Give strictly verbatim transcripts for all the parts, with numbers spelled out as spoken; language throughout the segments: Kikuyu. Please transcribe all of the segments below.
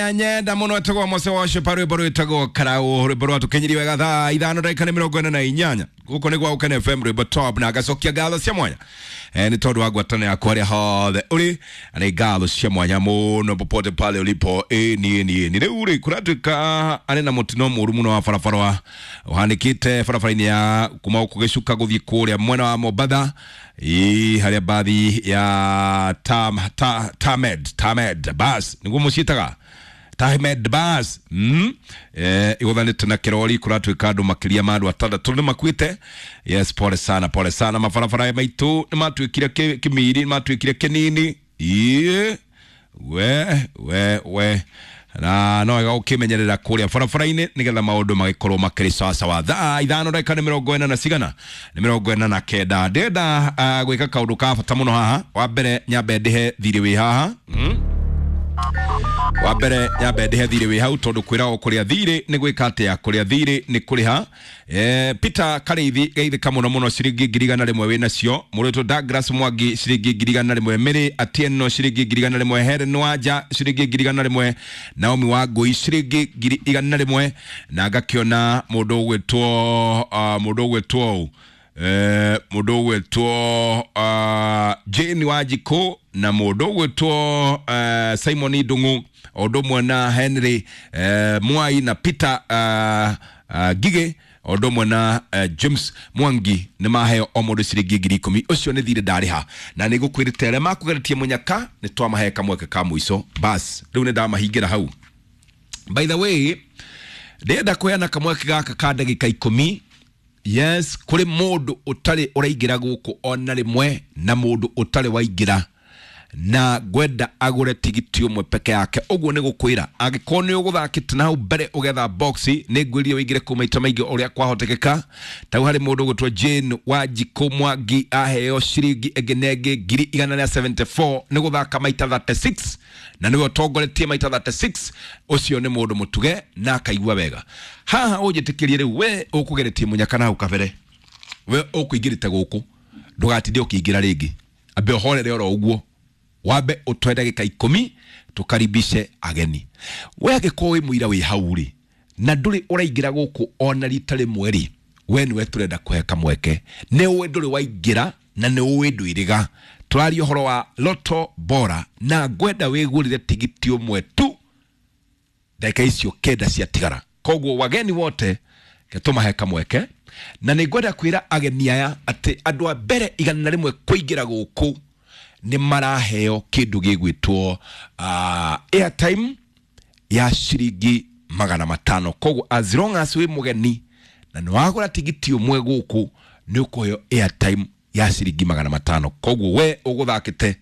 Nyenda muno etagwo Mose Worship, rwimbo rwitagwo Karau, rwimbo rwatukinyirie wega thaa ithano ndagika nĩ mĩrongo ĩna na inyanya. Gũkũ nĩ gwa Ũkene F M, rwimbo top, na ngacokia ngatho cia mwanya eh, nĩ tondũ wa ngwatanĩro yaku harĩa hothe ũrĩ, na nĩ ngatho cia mwanya mũno popote pale ulipo. Ĩ niĩ niĩ nĩ rĩu rĩ kũratuĩka arĩ na mũtino mũru mũno wa barabara ũhanĩkĩte barabara-inĩ ya kuma gũkũ Gĩcuka gũthiĩ kũrĩa mwena wa Mombatha, ĩ harĩa bathi ya tam, ta, Tamed Tamed bus nĩguo mũciĩtaga Tamed bus mm? Eh, igũthanĩte na kĩrori, kũratuĩka andũ makĩria ma andũ atandatũ nĩ makuĩte. Yes, pole sana, pole sana. Mabarabara maitũ nĩ matuĩkire kĩmiri, nĩ matuĩkire kĩnini. Ĩĩ we we we na no wega ũkĩmenyerera kũrĩa barabara-inĩ nĩgetha maũndũ magĩkorwo makĩrĩ sawasawa. Thaa ithano ndagĩka nĩ mĩrongo ĩna na cigana, nĩ mĩrongo ĩna na kenda. Ndĩrenda uh, gwĩka kaũndũ ka bata mũno haha. Wa mbere nyambe ndĩhe thirĩ wĩ haha mm? Wa mbere nyambe ndĩhe thirĩ wĩ hau, tondũ kwĩragwo kũrĩa thirĩ nĩ gwĩka atĩa? Kũrĩa thirĩ nĩ kũrĩha. Eh, Peter Karĩithi geithĩka mũno mũno, ciringi ngiri igana rĩmwe wĩ nacio. Mũrĩtwo Douglas Mwangi ciringi ngiri igana rĩmwe, Mary Atieno ciringi ngiri igana rĩmwe, Helen Wanja ciringi ngiri igana rĩmwe, Naomi Wangũi ciringi ngiri igana rĩmwe, na ngakĩona mũndũ ũgwĩtwo uh, mũndũ ũgwĩtwo eh, mũndũ ũgwĩtwo uh, Jane Wanjikũ na mũndũ ũgwĩtwo uh, Simon Ndung'u, o ũndũ ũmwe na Henry uh, Mwai na Peter uh, uh, Ngigĩ, o ũndũ ũmwe na uh, James Mwangi nĩ maheo o mũndũ ciringi ngiri ikũmi. Ũcio nĩ thirĩ ndarĩha, na nĩ ngũkwĩrĩte arĩa makũgeretie mũnyaka nĩ twamahe kamweke ka mũico. Bas rĩu nĩ ndamahingĩra hau. By the way, ndĩrenda kũheana kamweke gaka ka ndagĩka ikũmi. Yes, kũrĩ mũndũ ũtarĩ ũraingĩra gũkũ ona rĩmwe, na mũndũ ũtarĩ waingĩra na ngwenda agũre tigiti ũmwe peke yake. Ũguo nĩ gũkwĩra angĩkorwo nĩ ũgũthakĩte na hau mbere ũgetha box, nĩ ngwĩrire ũingĩre kũu maita maingĩ ũrĩa kwahotekeka. Tau harĩ mũndũ ũgwĩtwo Jane Wanjikũ Mwangi aheo ciringi ĩngĩ na ĩngĩ ngiri igana rĩa seventy four nĩ gũthaka maita thirty six, na nĩwe ũtongoretie maita thirty six. Ũcio nĩ mũndũ mũtuge na akaigua wega. Haha ũnjĩtĩkĩrie rĩu, we ũkũgeretie mũnyaka na hau kabere, we ũkũingĩrĩte gũkũ, ndũgatinde ũkĩingĩra rĩngĩ, ambe ũhorere oro ũguo, wambe ũtwe ndagĩka ikũmi tũkaribishe ageni. We angĩkorwo wĩ mũira wĩ hau rĩ, na ndũrĩ ũraingĩra gũkũ ona rita rĩmwe rĩ, we nĩwe tũrenda kũhe kamweke. Nĩ ũĩ ndũrĩ waingĩra na nĩ ũĩ ndwĩrĩga. Tũraria ũhoro wa Lotto Bora, na ngwenda wĩgũrĩre tigiti ũmwe tu ndagĩka icio kenda ciatigara. Koguo wageni wote tũmahe kamweke, na nĩ ngwenda kwĩra ageni aya atĩ andũ a mbere igana rĩmwe kũingĩra gũkũ nĩ maraheo kĩndũ gĩgwĩtwo uh, airtime ya ciringi magana matano. Koguo as long as wĩ mũgeni na nĩ wagũra tigiti ũmwe gũkũ, nĩ ũkũheo airtime ya ciringi magana matano. Koguo we ũgũthakĩte,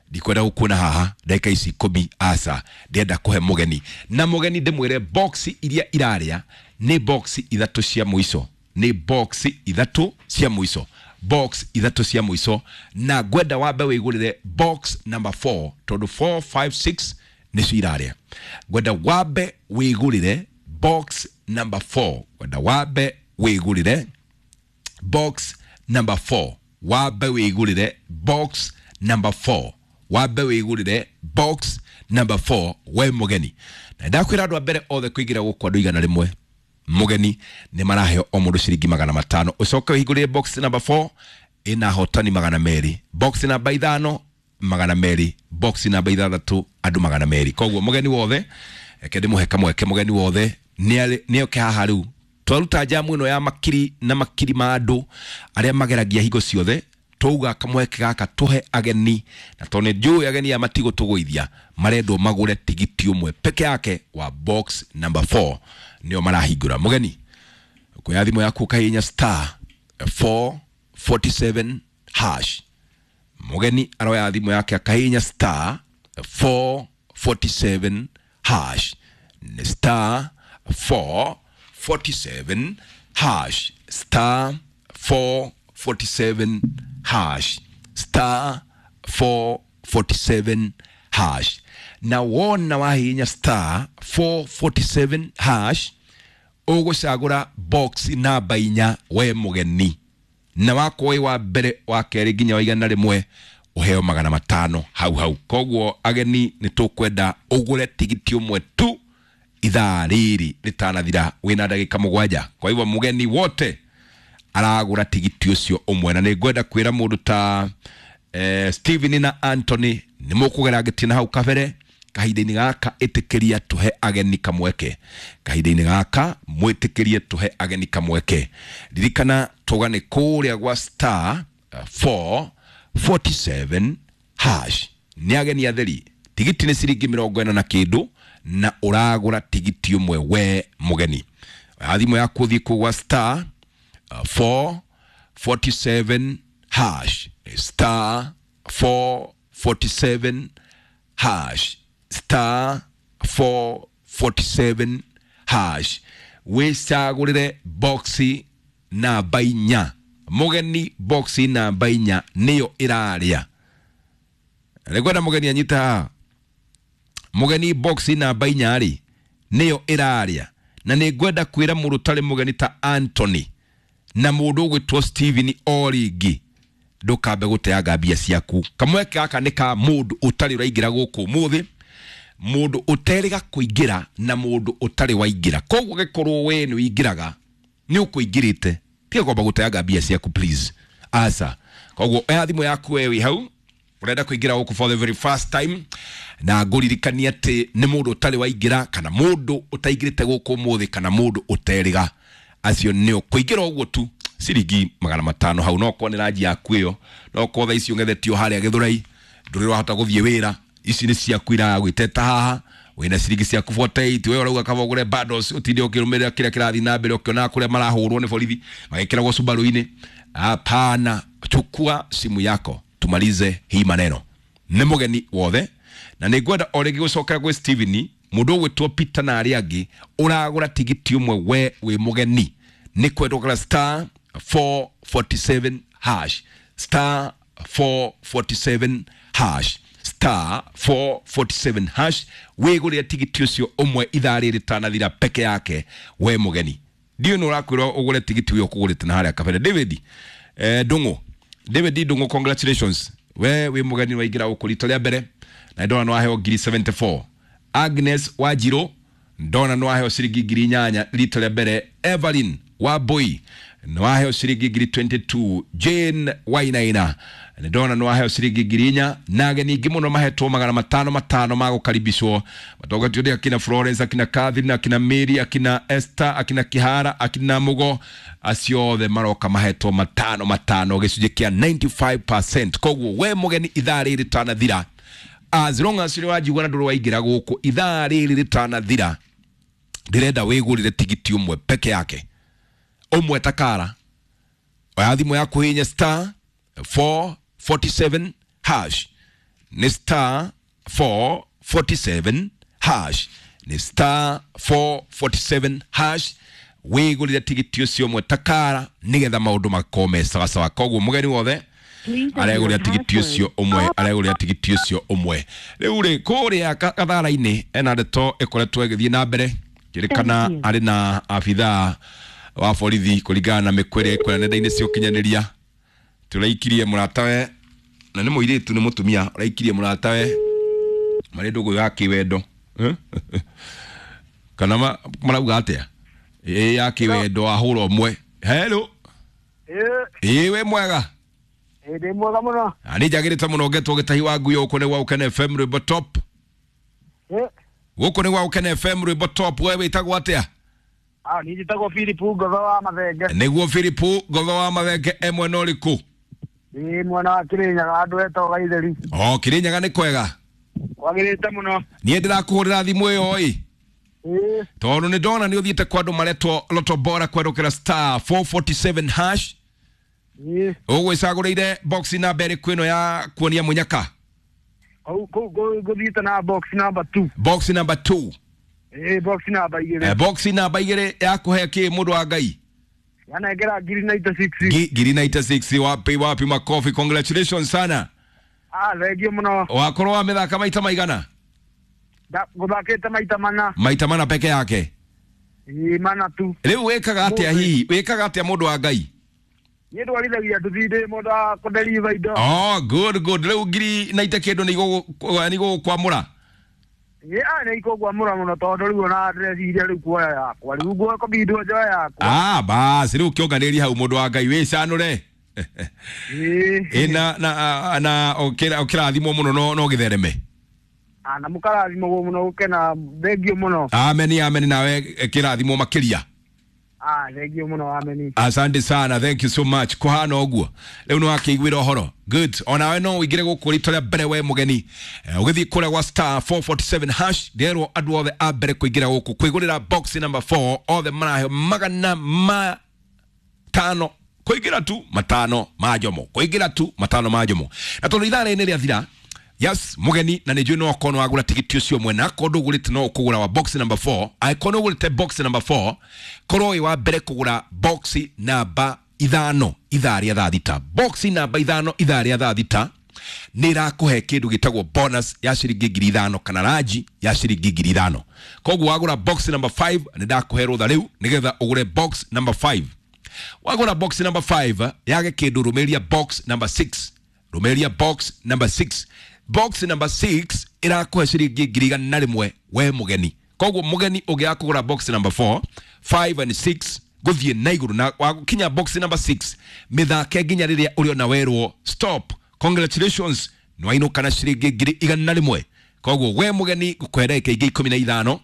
ndikwenda gũkuona haha ndagĩka ici ikũmi, aca, ndĩrenda kũhe mũgeni. Na mũgeni ndĩmwĩre box iria irarĩa nĩ box ithatũ cia mũico, nĩ box ithatũ cia mũico, box ithatũ cia mũico, na ngwenda wambe wĩgũrĩre box number four, tondũ four five six nĩcio irarĩa. Ngwenda wambe wĩgũrĩre box number four, ngwenda wambe wĩgũrĩre box number four, wambe wĩgũrĩre box number four, wambe wĩgũrĩre box number four we mũgeni. Na ndakwĩra andũ a mbere othe kũingĩra gũkũ andũ igana rĩmwe mũgeni nĩ maraheo o mũndũ ciringi magana matano. Ũcoke wĩhingũrĩre box number four ĩna hotani magana merĩ, box namba ithano magana merĩ, box namba ithathatũ andũ magana merĩ. Koguo mũgeni wothe, reke ndĩmũhe kamweke, mũgeni wothe nĩ oke haha rĩu. Twaruta jamu ĩno ya makiri na makiri ma andũ arĩa mageragia hingo ciothe, twauga kamweke gaka tũhe ageni, na tondũ nĩ njũĩ ageni aya matigũtũgũithia, marendwo magũre tigiti ũmwe peke yake wa box number four, nĩo marahingũra. Mũgeni, ũkuoya thimũ yaku ũkahihinya star four forty seven hash. Mũgeni aroya thimũ yake akahihinya star four forty seven hash. Nĩ star four forty seven hash, star four forty seven hash, star four forty seven hash. Na wona wahihinya star four forty seven hash, ũgũcagũra box namba inya we mũgeni, na wakorwo wĩ wa mbere, wa kerĩ nginya wa igana rĩmwe, Uheo magana matano hau hau. Koguo ageni nĩ tũkwenda ũgũre tigiti ũmwe tu ithaa rĩrĩ rĩtanathira, wĩna ndagĩka mũgwanja. Kwa hivyo mũgeni wote aragũra tigiti ũcio ũmwe, na nĩ ngwenda kwĩra mũndũ ta eh, Steven na Anthony nĩ mũkũgera ngĩtina hau kabere. Kahinda-inĩ gaka ĩtĩkĩria tũhe ageni kamweke, kahinda-inĩ gaka mwĩtĩkĩrie tũhe ageni kamweke. Ririkana tũgane kũrĩa gwa star four forty-seven hash. Nĩ ageni atheri, tigiti nĩ ciringi mĩrongo ĩna na kĩndũ, na ũragũra tigiti ũmwe we mũgeni. Oya thimũ yaku ũthiĩ kũu gwa star four forty-seven hash, star four forty-seven hash, star four forty-seven hash. Wĩcagũrĩre boxi namba inya. Mũgeni boxi namba inya nĩyo ĩrarĩa. Nĩngwenda mũgeni anyite haha. Mũgeni boxi namba inya rĩ nĩyo ĩrarĩa, na nĩngwenda kwĩra mũndũ ũtarĩ mũgeni ta Anthony na mũndũ ũgwĩtwo Steven o rĩngĩ, ndũkambe gũteanga mbia ciaku. Kamweke gaka nĩ ka mũndũ ũtarĩ ũraingĩra gũkũ ũmũthĩ, mũndũ ũterĩga kũingĩra na mũndũ ũtarĩ waingĩra. Koguo gĩkorwo we nĩ ũingĩraga, nĩ ũkũingĩrĩte, tiga kwamba gũteanga mbia ciaku please. Aca. Koguo oya thimũ yaku we wĩ hau ũrenda kũingĩra gũkũ for the very first time, na ngũririkanie atĩ nĩ mũndũ ũtarĩ waingĩra kana mũndũ ũtaingĩrĩte gũkũ ũmũthĩ kana mũndũ ũterĩga, acio nĩo kũingĩra ũguo tu ciringi magana matano hau. No korwo nĩ ranji yaku ĩyo, no korwo thaa ici ũng'ethetio harĩa Gĩthũrai, ndũrĩ ũrahota gũthiĩ wĩra, ici nĩ ciaku iragwĩteta haha, wĩna ciringi ciaku forty-eight, we ũrauga kaba ũgũre bundles ũtinde ũkĩrũmĩrĩra kĩrĩa kĩrathiĩ na mbere, ũkĩonaga kũrĩa marahũrwo nĩ borithi magĩkĩragwo Subaru-inĩ. Hapana, chukua simu yako tumalize hii maneno. Nĩ mũgeni wothe, na nĩ ngwenda o rĩngĩ gũcokera gwĩ Steven, mũndũ ũgwĩtwo Peter na arĩa angĩ, ũragũra tigiti ũmwe we wĩ mũgeni, nĩ kwendwo kũgũra star four forty-seven hash, star four forty-seven hash, star four forty-seven hash, wĩgũrĩre tigiti ũcio ũmwe ithaa rĩrĩ rĩtanathira peke yake we mũgeni. Ndiũĩ nĩ ũrakwĩrwo ũgũre tigiti ũyũ ũkũgũrĩte na harĩa kabere. David eh, Ndung'u, David Ndung'u, congratulations, we wĩ mũgeni waingĩra gũkũ rita rĩa mbere, na ndona nĩ waheo ngiri seventy-four. Agnes Wanjirũ ndona nĩ waheo ciringi ngiri inyanya rita rĩa mbere. Evelyn Wambui nĩ waheo ciringi ngiri twenty-two. Jane Wainaina nĩ ndona nĩ waheo ciringi ngiri inya. Na ageni ingĩ mũno mahetwo magana matano matano ma gũkaribicwo, matongoretio nĩ akina Florence, akina Catherine, akina Mary, akina Esther, akina Kihara, akina Mugo, acio othe maroka mahetwo matano matano, gĩcunjĩ kĩa ninety-five percent. Koguo we mũgeni ithaa rĩrĩ rĩtanathira, as long as nĩ wanjigua na ndũrĩ waingĩra gũkũ, ithaa rĩrĩ rĩtanathira ndĩrenda wĩgũrĩre tigiti ũmwe peke yake, ũmwe takara. Oya thimũ yaku hihinya star four forty-seven hash, nĩ star four forty-seven hash, nĩ star four forty-seven hash, wĩgũrĩre tigiti ũcio ũmwe takara nĩgetha maũndũ makorwo me sawasawa. Koguo mũgeni wothe aregũrĩra tigiti ũcio ũmwe, aregũrĩra tigiti ũcio ũmwe. Rĩu rĩ kũrĩa Gathara-inĩ ena ndeto ĩkoretwo ĩgĩthiĩ na mbere, kĩrĩkana arĩ na abithaa wa borithi kũringana na mĩkwa ĩrĩa ĩkwĩra nenda-inĩ cia ũkinyanĩria. Tũraikirie mũratawe, na nĩ mũirĩtu nĩ mũtumia, ũraikirie mũratawe marĩ ndũgũ ya kĩwendo. Kana marauga atĩa? Ĩ ya kĩwendo ahũra ũmwe. Hello. Ĩ wĩ mwega? Ĩ ndĩ mwega mũno. Na nĩ njagĩrĩte mũno ngetwo gĩtahi wa ngui gũkũ nĩ gwa Ũkene F M rwĩmbo top. Gũkũ nĩ gwa Ũkene F M rwĩmbo top. We wĩtagwo atĩa? Ah, niĩ njĩtagwo Philip Ngotho wa Mathenge. Nĩguo Philip Ngotho wa Mathenge, e mwena ũrĩkũ? Ĩ mwena wa Kĩrĩnyaga, handũ hetagwo Gaitheri. O Kĩrĩnyaga nĩ kwega? Kwagĩrĩte mũno. Niĩ ndĩrakũhũrĩra thimũ ĩyo ĩ. Ĩ. Tondũ nĩ ndona nĩ ũthiĩte kwa andũ maretwo Lotto Bora kwerũkĩra star four forty-seven hash. Ĩ. Ũgwĩcagũrĩire box namba ĩrĩkũ ĩno ya kuonia mũnyaka? Kũu kũu ngũthiĩte na box number two. Box number two. Eh, box namba igĩrĩ. Eh, box namba igĩrĩ ya kũhe kĩ mũndũ wa Ngai? Yanengera ngiri ninety-six. Ngiri ninety-six. Wapi wapi makofi, congratulations sana. Ah, thengio mũno. Wakorwo wa mĩthaka maita maigana? Ngũthakĩte maita mana. Maita mana peke yake? Ĩ, mana tu. Rĩu wĩkaga atĩa hihi? Wĩkaga atĩa mũndũ wa Ngai? Niĩ ndwarithagia nduthi ndĩ mũndũ wa kũdeliver indo. Oh, good good. Rĩu ngiri na ite kĩndũ nĩ igũgũkwamũra. Ĩ a nĩ ikũngwamũra mũno tondũ rĩu ona ndĩreciria rĩu kuoya yakwa. Rĩu ngũkobindwo njoe yakwa. Ah, basi rĩu kĩũnganĩria hau mũndũ wa Ngai wĩcanũre. Ĩ. Ĩ na na na ũkĩrathimwo mũno no no gĩthereme. Ah, na mũkarathimwo mũno gũkena thengio mũno. Amen amen, nawe kĩrathimwo makĩria. Ah, thengio mũno, amen. Asante sana, thank you so much. Kuhana ũguo rĩu nĩ wakĩiguĩra ũhoro. Good. Onawe no ũingĩre gũkũ rita rĩa mbere we mũgeni, ũgĩthiĩ kũrĩa gwa star four forty-seven hash. Nderwo andũ othe a mbere kũingĩra gũkũ kwĩgũrĩra box number four othe maraheo magana matano kũingĩra tu matano ma njomo, kũingĩra tu matano ma njomo. Na tondũ ithaa rĩrĩ rĩathira, yes mũgeni, na nĩ njũĩ no akorwo wagũra tigiti ũcio mwena, akorwo ndũgũrĩte no ũkũgũra wa box number four. Angĩkorwo nĩ ũgũrĩte box number four, korwo wĩ wa mbere kũgũra box namba ithano ithaa rĩa thaa thita, box namba ithano ithaa rĩa thaa thita nĩ ĩrakũhe kĩndũ gĩtagwo bonus ya ciringi ngiri ithano kana ranji ya ciringi ngiri ithano. Koguo wagũra box number five nĩ ndakũhe rũtha rĩu nĩgetha ũgũre box number five. Wagũra box number five yage kĩndũ, rũmĩrĩria box number six, rũmĩrĩria box number six. Box number six ĩrakũhe ciringi ngiri igana rĩmwe we mũgeni. Koguo mũgeni ũngĩaga kũgũra box number four, five and six gũthiĩ na igũrũ, na wakinya box number six mĩthake nginya rĩrĩa ũrĩona werwo stop, congratulations, nĩ wainũka na ciringi ngiri igana rĩmwe. Koguo we mũgeni ngũkũhe ndagĩka ingĩ ikũmi na ithano,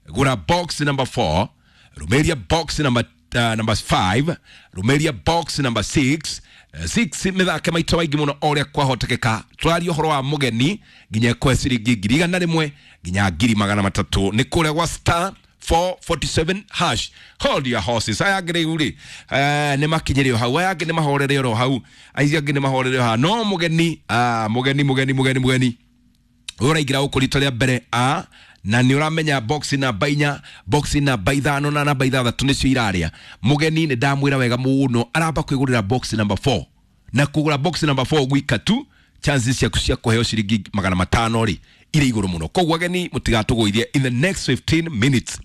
gũra box number four, rũmĩrĩria box number Uh, number five, rũmĩrĩria box number six. Six mĩthake maita maingĩ mũno o ũrĩa kwahotekeka. Tũraria ũhoro wa mũgeni nginya kwe ciringi ngiri igana rĩmwe nginya ngiri magana matatũ nĩ kũrĩa gwa star four forty-seven hash. Hold your horses. Aya angĩ rĩu rĩ, nĩ makinyĩre o hau, aya angĩ nĩ mahorere oro hau, acio angĩ nĩ mahorere o hau. No mũgeni, ah, mũgeni mũgeni mũgeni mũgeni ũraingĩra gũkũ rita rĩa mbere, a na nĩ ũramenya box namba inya, box namba ithano na namba ithathatũ nĩcio irarĩa. Mũgeni nĩ ndamwĩra wega mũno aramba kwĩgũrĩra box number four, na kũgũra box number four gwika tu chances ciaku cia kũheo ciringi magana matano rĩ irĩ igũrũ mũno. Koguo ageni mũtigatũgũithie in the next fifteen minutes.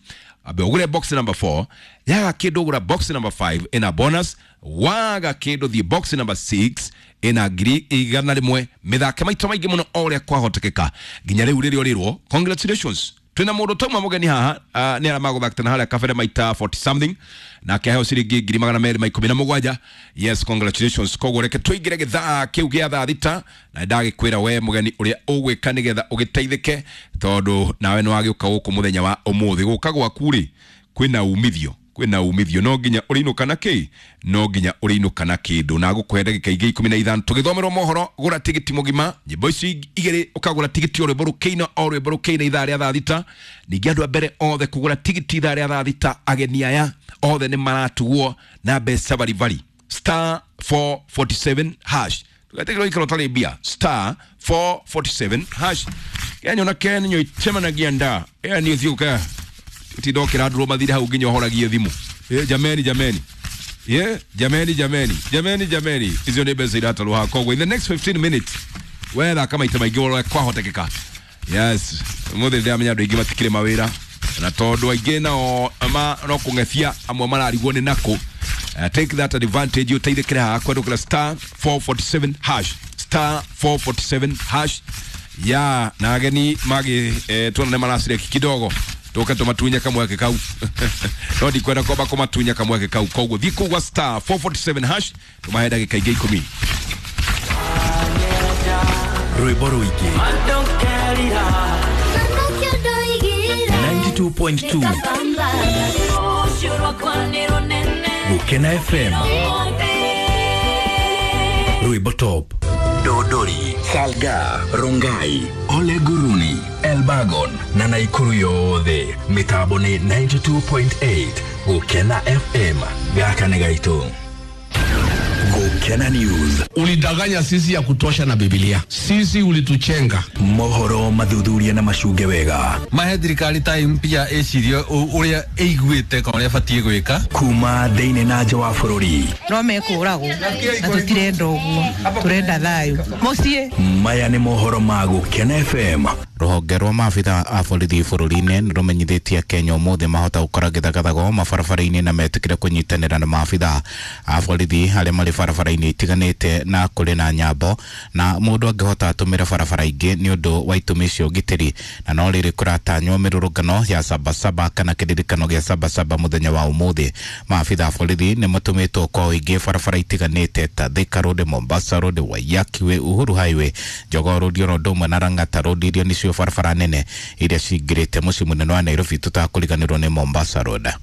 Ambe ũgũre box number four, yaga kĩndũ ũgũra box number five ĩna bonus, waga kĩndũ thiĩ box number six ĩna ngiri igana rĩmwe. Mĩthake maita maingĩ mũno o ũrĩa kwahotekeka nginya rĩu rĩrĩa ũrĩrwo congratulations. Twĩna mũndũ tauma mũgeni haha, uh, nĩ arĩa magũthakĩte na harĩa kabere maita forty something na akĩheo ciringi ngiri magana merĩ ma ikũmi na mũgwanja. Yes, congratulations. Koguo reke tũingĩre gĩthaa kĩu gĩa thaa thita, na ndagĩkwĩra we mũgeni ũrĩa ũgwĩka nĩgetha ũgĩteithĩke, tondũ nawe nĩ wagĩũka gũkũ mũthenya wa ũmũthĩ. Gũka gwaku rĩ kwĩna umithio, kwĩna umithio, no nginya ũrĩinũka na kĩ, no nginya ũrĩinũka na kĩndũ. Na ngũkũhe ndagĩka ingĩ ikũmi na ithano tũgĩthomerwo mohoro. Gũra tigiti mũgima, nyĩmbo ici igĩrĩ ũkagũra tigiti o rwĩmbo rũkĩina o rwĩmbo rũkĩina ithaa rĩa thaa thita. Ningĩ andũ a mbere othe kũgũra tigiti ithaa rĩa thaa thita, ageni aya othe nĩ maratugwo na mbeca baribari. Star four forty-seven hash. Tũgatigĩrwo ikaro ũtarĩ mbia. Star four forty-seven hash. Kenya Ken nyoitemanagia nda. Ĩyo nĩ ũthiũka tindokĩra ndũrũ mathire hau nginya ũhoragie thimũ. Eh, jameni jameni. Yeah, jameni jameni. Jameni jameni. Icio nĩ mbeca iratarwo haha. Koguo in the next fifteen minutes we thaka maita maingĩ ũrĩa kwahotekeka. Yes, mũthĩ ndĩramenya andũ aingĩ matikĩrĩ mawĩra, na tondũ aingĩ nao ma no kũng'ethia amwe mararigwo nĩ nakũ. Uh, take that advantage ũteithĩkĩre haha kwendũkĩra star four forty-seven hash, star four forty-seven hash. Ya na ageni magi eh, tuona nĩ maracireki kidogo tuke tumatunya kamweke kau. No ndikwenda kwamba kũmatunya kamweke kau. Koguo thiĩ kũu gwa star four forty-seven hash tũmahe ndagĩka ingĩ ikũmi. Rwĩmbo rũingĩ ninety-two point two Gũkena F M Rwĩmbo Top. Dodori, Salga, Rongai, Ole Guruni, Elbagon na Naikuru yothe. Mitambo ni ninety-two point eight Gũkena F M. Gaka nĩ gaitũ. Gũkena News. Ulidanganya sisi ya kutosha na Biblia. Sisi ulituchenga. Mohoro mathuthuria na macunge wega. Mahe thirikari time pia ecirie uria iguite kana uria batie gwika. Kuma thiini na nja wa bururi. No mekũragwo na tũtirenda ũguo, tũrenda thayũ. Mũciĩ. Maya nĩ mohoro ma Gũkena F M. Rũhonge rwa maabitha a borithi bũrũri-inĩ nĩ rũmenyithĩtie Kenya ũmũthĩ mahota gũkora gĩthagathago mabarabara-inĩ na metĩkĩre kũnyitanĩra na maabitha a borithi arĩa marĩ barabara-inĩ itiganĩte na kũrĩ na nyambo na mũndũ angĩhota atũmĩre barabara ingĩ nĩ ũndũ wa itũmi cia ũgitĩri. Na no rĩrĩ kũratanywo mĩrũrũngano ya Sabasaba kana kĩririkano gĩa Sabasaba mũthenya wa ũmũthĩ. Maabitha a borithi nĩ matũmĩtwo kwa ũingĩ barabara itiganĩte ta Thika Road, Mombasa Road, Waiyaki Way, Uhuru Highway, Jogoo Road oro ũndũ ũmwe na Lang'ata Road iria nĩcio barabara nene iria cingĩrĩte mũciĩ mũnene wa Nairobi tũtakũriganĩrwo nĩ Mombasa Road.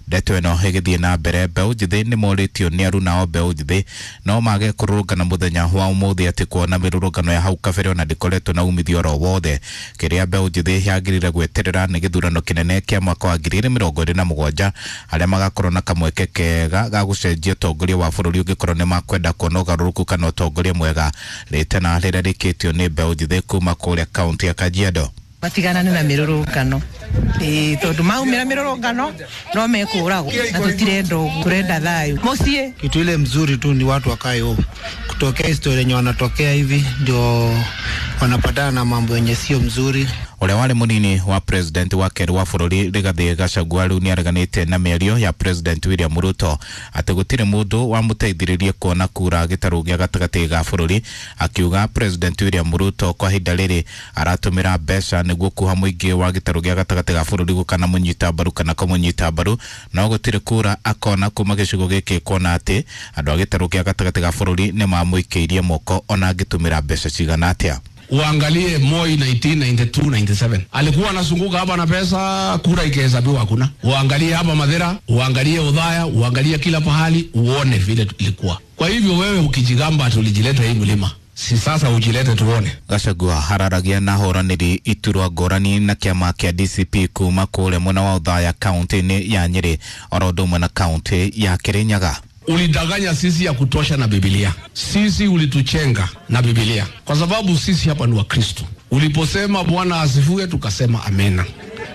Ndeto ĩno ĩgĩthiĩ na mbere, mbeũ njĩthĩ nĩ morĩtio nĩ aruna o mbeũ njĩthĩ no mage kũrũrũngana mũthenya wa ũmũthĩ atĩ kuona mĩrũrũngano ya hau kabere ona ndĩkoretwo na umithio oro wothe. Kĩrĩa mbeũ njĩthĩ yagĩrĩire gweterera nĩ gĩthurano kĩnene kĩa mwaka wa ngiri igĩrĩ mĩrongo ĩrĩ na mũgwanja arĩa magakorwo na kamweke kega ga gũcenjia ũtongoria wa bũrũri ũngĩkorwo nĩ makwenda kuona ũgarũrũku kana ũtongoria mwega. Rĩtana rĩrĩa rĩkĩtio nĩ mbeũ njĩthĩ kuma kũrĩa kaũntĩ ya Kajiado matiganane na mĩrũrũngano ĩĩ tondũ maumĩra mĩrũrũngano no mekũragwo na tũtirenda ũguo, tũrenda thayũ mũciĩ. Kitu ile mzuri tu ni watu wakae home, kutokea historia yenye wanatokea hivi ndio wanapatana na mambo yenye sio mzuri. Ũrĩa warĩ mũnini wa president wa kerĩ wa bũrũri Rigathĩ Gachagua rĩu nĩareganĩte na mĩario ya president William Ruto atĩ gũtirĩ mũndũ wamũteithĩrĩrie kuona kura gĩtarũ gĩa gatagatĩ ga bũrũri, akiuga president William Ruto kwa ihinda rĩrĩ aratũmĩra mbeca nĩguo kuha mũingĩ wa gĩtarũ gĩa gatagatĩ ga bũrũri gũkanamũnyita mbaru kana kũmũnyita mbaru, no gũtirĩ kura akona kuma gĩcigo gĩkĩ kuona atĩ andũ a gĩtarũ gĩa gatagatĩ ga bũrũri nĩmamũikĩirie moko ona angĩtũmĩra mbeca cigana atĩa. Uangalie Moi nineteen ninety-two ninety-seven alikuwa anazunguka hapa na pesa, kura ikihesabiwa hakuna. Uangalie hapa Madhera, uangalie Udhaya, uangalie kila pahali, uone vile ilikuwa. Kwa hivyo wewe ukijigamba tulijileta hii mlima, si sasa ujilete tuone. Gachagua hararagia na horanĩri iturwa ngũrani na kĩama kĩa D C P kuma kũrĩa mwena wa Othaya kaunti-inĩ ya Nyĩrĩ oro ũndũ ũmwe na kaunti ya Kirinyaga. Ulidanganya sisi ya kutosha na Biblia. Sisi ulituchenga na Biblia. Kwa sababu sisi hapa ni Wakristo. Uliposema Bwana asifiwe tukasema amena.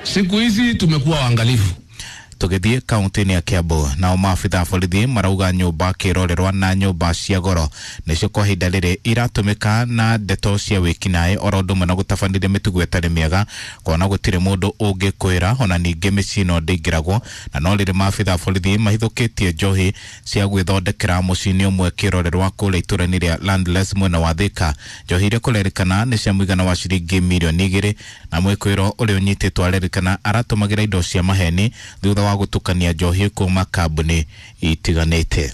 Siku hizi tumekuwa waangalifu. Tũgĩthiĩ kaunti-inĩ ya Kiambu, nao maabitha a borithi marauga nyũmba kĩrorerwa na nyũmba cia goro nĩcio kwa ihinda rĩrĩ iratũmĩka na ndeto cia wĩkinaĩ oro ũndũ ũmwe na gũtabanĩria mĩtugo ĩtarĩ mĩega kuona gũtirĩ mũndũ ũngĩkwĩra ona ningĩ mĩciĩ ĩno ndĩingĩragwo. Na no rĩrĩ maabitha a borithi mahithũkĩtie njohi cia gwĩthondekera mũciĩ-inĩ ũmwe kĩrorerwa kũrĩa itũũra-inĩ rĩa Landless mwena wa Thika. Njohi iria kũrerĩkana nĩ cia mũigana wa ciringi mirioni igĩrĩ na mwĩkũĩro ũrĩa ũnyitĩtwo arerĩkana aratũmagĩra indo cia maheni thutha wa gutukania njohi kuma kambuni itiganĩte.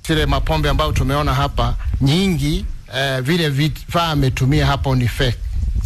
Zile mapombe ambayo tumeona hapa nyingi, eh, vile vifaa ametumia hapo ni fake,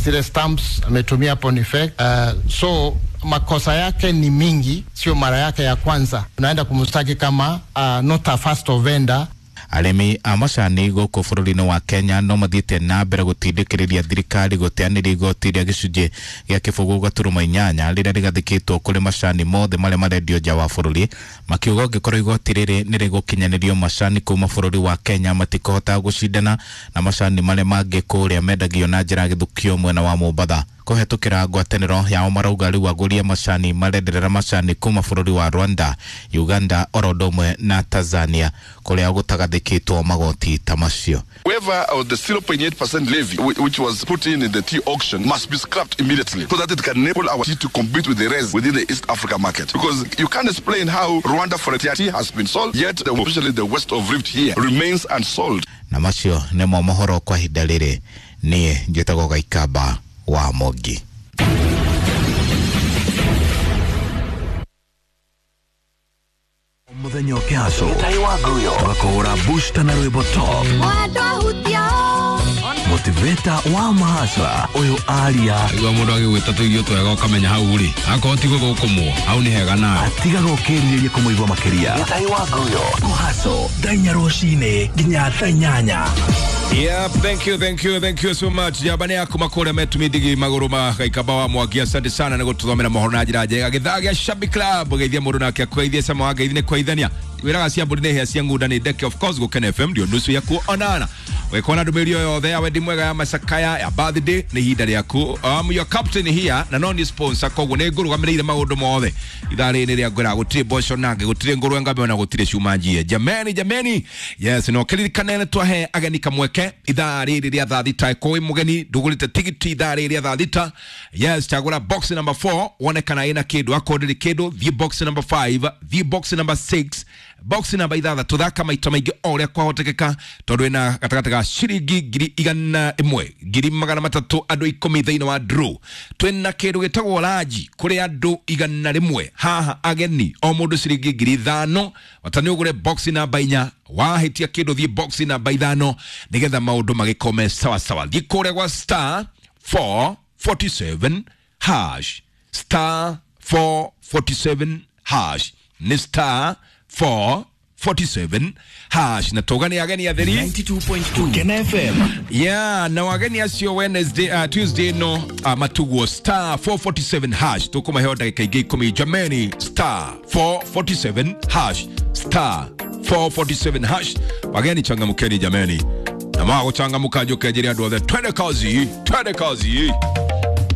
zile stamps ametumia hapo ni fake. Uh, so makosa yake ni mingi, sio mara yake ya kwanza. Tunaenda kumstaki kama uh, not a first offender. Arĩmi a macani gũkũ bũrũri-inĩ wa Kenya no mathiĩte na mbere gũtindĩkĩrĩria thirikari gũteanĩria igoti rĩa gĩcunjĩ gĩa kĩbũgũ gaturuma inyanya rĩrĩa rĩgathĩkĩtwo kũrĩ macani mothe marĩa marendio nja wa bũrũri, makiuga ũngĩkorwo igoti rĩrĩ nĩ rĩgũkinyanĩrio macani kuma bũrũri wa Kenya matikũhota gũcindana na macani marĩa mangĩ kũrĩa mendagio na njĩra ya gĩthukio mwena wa Mombatha. Kũhetũkĩra ngwatanĩro yao marauga rĩu agũri a macani marenderera macani kuma bũrũri wa Rwanda, Uganda oro ũndũ ũmwe na Tanzania kũrĩa gũtagathĩkĩtwo magoti ta macio. Waiver of the zero point eight percent levy which was put in in the tea auction must be scrapped immediately so that it can enable our tea to compete with the rest within the East Africa market. Because you can't explain how Rwanda for tea has been sold, yet the, especially the west of Rift here remains unsold. Na macio nĩmo mohoro kwa ihinda rĩrĩ. Niĩ njĩtagwo Gaikamba wa Mogi. Mũthenya ũkĩhaco tũgakũhũra booster na rwĩmbo top motivator wa mahasra ũyũ aria igua mũndũ agĩgwĩta tũirio twega ũkamenya hau rĩ akorwo ti gũthũkũmwo hau nĩ hega nawe atigaga ũkĩrirĩria kũmũigua makĩria. Gĩtai wa Nguyo kũhaco thaa inya rũcinĩ nginya thaa inyanya. Yep, thank you, thank you, thank you so much. Jabane yaku makore metumidigi maguru ma Gaikamba wa Mwangi, asante sana nĩ gũtũthomera mohoro na njĩra njega. Gĩthaa gĩa Shabby Club geithia mũndũ nake akũgeithie cama wa ngeithi nĩ kũgeithania. Wĩraga cia mbũri nĩ hĩa cia ng'unda nĩ ndeke, of course Gũkena F M ndio nusu ya kuonana. Wekona ndũmĩrĩri o yothe ya wendi mwega, ya macakaya, ya birthday, nĩ ihinda rĩaku. Um, your captain here na no ni sponsor, koguo nĩ ngũrũgamĩrĩire maũndũ mothe ithaa rĩrĩ rĩa ngwĩra gũtirĩ mboco nange, gũtirĩ ngũrwe ngambe, ona gũtirĩ cuma njie. Jameni, jameni, yes, no kĩririkane nĩ twahe ageni kamweke ithaa rĩrĩ rĩa thaa thita. Kũĩ mũgeni ndũgũrĩte tigiti ithaa rĩrĩ rĩa thaa thita, yes, chagũra box number four wone kana ĩna kĩndũ. Akorwo ndĩrĩ kĩndũ, thiĩ box number five, thiĩ box number six, box namba ithathatũ. Thaka maita maingĩ o ũrĩa kwahotekeka, tondũ ĩna gatagatĩ ga ciringi ngiri igana ĩmwe ngiri magana matatũ andũ ikũmi thĩinĩ wa draw. Twĩna kĩndũ gĩtagwo ranji kũrĩ andũ igana rĩmwe haha ageni, o mũndũ ciringi ngiri ithano. Wata nĩ ũgũre box namba inya, wahĩtia kĩndũ thiĩ box namba ithano, nĩgetha maũndũ magĩkome sawa sawa. Thiĩ kũrĩa gwa star four forty-seven hash, star four forty-seven hash, nĩ star four forty-seven hash. Na tũgani ageni atheri ninety-two point two Kena F M. Yeah, na wageni acio Wednesday, uh, Tuesday no uh, matuguo star four forty-seven hash, tukumaheo ndagĩka ingĩ ikũmi. Jameni, star four forty-seven hash, star four forty-seven hash. Wageni changamkeni jameni, na magũchangamka njũke njĩre andũ othe twende kazi, twende kazi.